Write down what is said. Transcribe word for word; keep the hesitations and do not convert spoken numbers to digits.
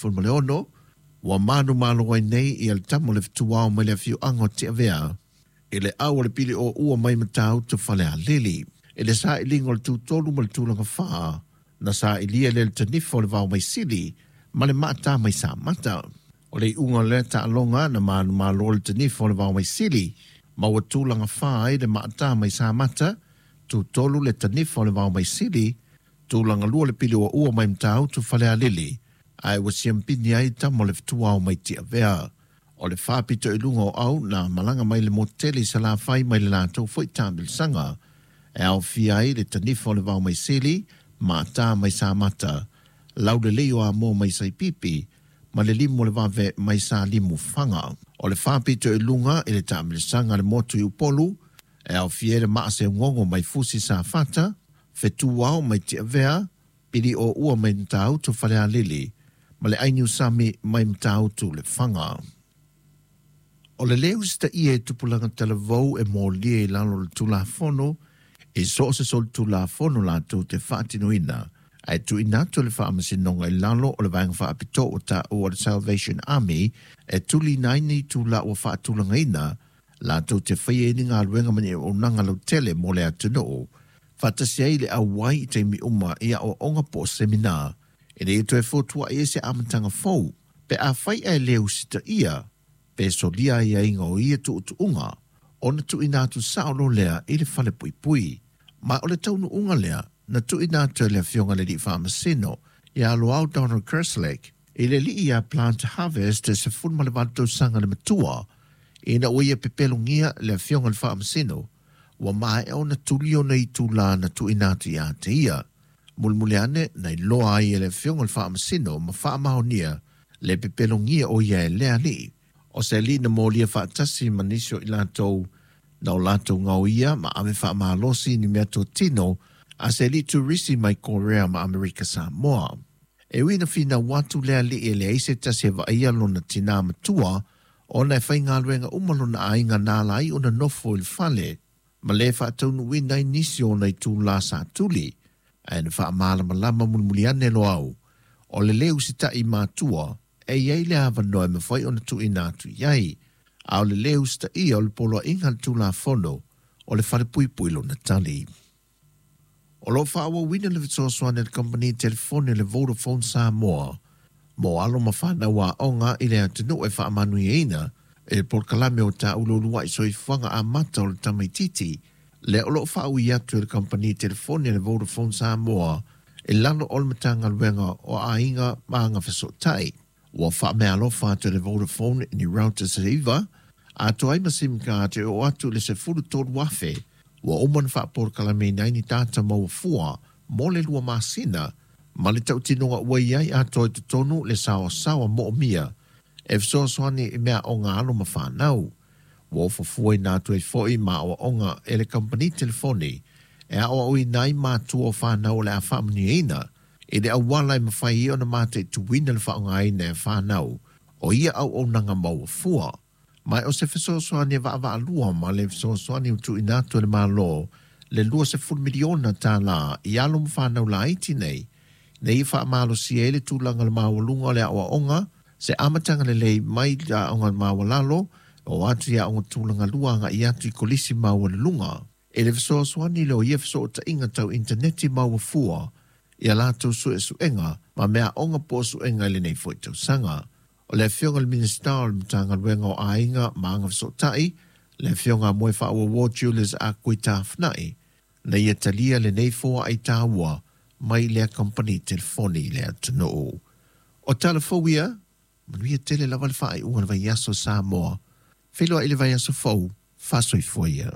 sefulu ma le ono, ua manumalo ai nei ia le tama o le fetuao mai le afioaga o Tiavea i le au o le pili o ua mai Matautu Falealili. I le sailiga o le tutolu ma le tulaga fā, na sailia le le tanifa o le vao mai sili ma le maata mai Samata. O le iuga o lea taaloga na manumalo le tanifa o le vao mai sili, ma ua tulaga fā ai le maata mai Samata, tutolu le tanifa o le vao mai sili, tulaga lua le pili o ua mai Matautu Falealili, ae ua siampini ai tama o le fetuao mai Tiavea. O le faapito i luga o au na malaga mai le motele i Salafai mai le latou foi taamilosaga, e aofia ai le tanifa o le vao mai sili, maata mai Samata, laulelei o Amoa mai Saipipi, ma le limu o le vave mai Salimu Faga. O le faapito i luga i le taamilosaga a le motu i Upolu, e aofia ai le maaseugogo mai Fusi Safata, fetuao mai Tiavea, pili o ua mai Matautu Falealili, ma le ainiusami mai Matautu Lefaga. O le lē usitaia e tupulaga talavou e molia i lalo o le Tulafono, e so o se solitulafono latou te faatinoina, ae tuuina atu le faamasinoga i lalo o le vaega faapitoa ua taua o le Salvation Army e tuliina ai ni itulā ua faatulagaina latou te faia ai ni galuega ma ni auaunaga lautele mo le atunuu, faatasi ai le auai i taimi uma i aoaoga po o semina, ina ia toe fotuai ai se amataga fou pe afai ae le usitaia pe solia aiaiga o ia tuutuuga ona tuuina atu sao loa lea i le falepuipui. Ma o le taunuuga lea na tuuina atu e le Afioga i le Alii Faamasino ia Loau Donald Kerslake i le alii ia Plant Harvest e sefulu ma le valu tausaga le matua, ina ua ia pepelogia le Afioga i le Faamasino ua maea ona tuli ona itulā na tuuina atu ia te ia. Mulimuli ane na iloa ai e le Afioga i le Faamasino ma faamaonia le pepelogia o ia e le alii. O se alii na molia faatasi ma nisi o i latou na o latou gaoia ma ave faamalosi ni meatotino a se alii turisi mai Korea ma Amerika Samoa. E ui ina finau atu le alii e leai se tasi e vaaia lona tinā matua ona e faigaluega uma lona aiga na ala ai ona nofo i le fale, ma le faataunuuina ai nisi o ona itulā sa tuli, ae na faamalamalama mulimuli ane Loau o le lē usitai matua e i ai le avanoa e mafai ona tuuina atu i ai, a o le lē usitaia o le poloaiga a le Tulafono o le falepuipui lona tali. O lo o faaauauina le fesoasoani a le kamupani telefoni le Vodafone Samoa mo alo ma fanau aoga i le atunuu e faamanuiaina i le polokalame o taulu uluai soifuaga amata o le tamaitiiti, lea o lo o faaui atu e le kamupani telefoni le Vodafone Samoa i lalo o le Matagaluega o Aiga ma Agafesootai. Ua faameaalofa atu e le Vodafone ni routers e iva, atoa ai ma SIM card e oo atu i le sefulu tolu afe, ua uma ona faapolokalameina ai ni data maua fua mo le lua masina, ma le tautinoga ua i ai atoa i totonu le saoasaoa moomia e fesoasoani i meaaoga a alo ma fanau. Ua ofofuaina atu ai foi ma aoaoga e le kamupani telefoni e aoaoina ai matua o fanau o le a faamanuiaina i le auala e mafai ai ona mataituina le faaaogaina e fanau o ia auaunaga maua fua. Ma o se fesoasoani e vaavaalua ma le fesoasoani ua tuuina atu e le Malo le luasefulu miliona tālā i alo ma fanau laiti nei, ina ia faamalosia ai le tulaga o le maualuga o le aoaoga, se amataga lelei mai i aoga maualalo oo atu i aoga tulaga lua agai atu i kolisi maualuluga. I le fesoasoani lea o ia fesootaiga tau initaneti maua fua i a latou suesuega ma meaaoga po o suega i lenei foi tausaga. O le Afioga i le Minisita o le Matagaluega o Aiga ma Agafesootai, le Afioga a Moefaauouo Julius Ah Kui Tafinai, na ia talia lenei foai taua mai lea kamupani telefoni i le atunuu. O tala fou ia, manuia tele lava le faaiuga o le vaiaso Samoa. Feiloai i le vaiaso fou, faasoifua ia.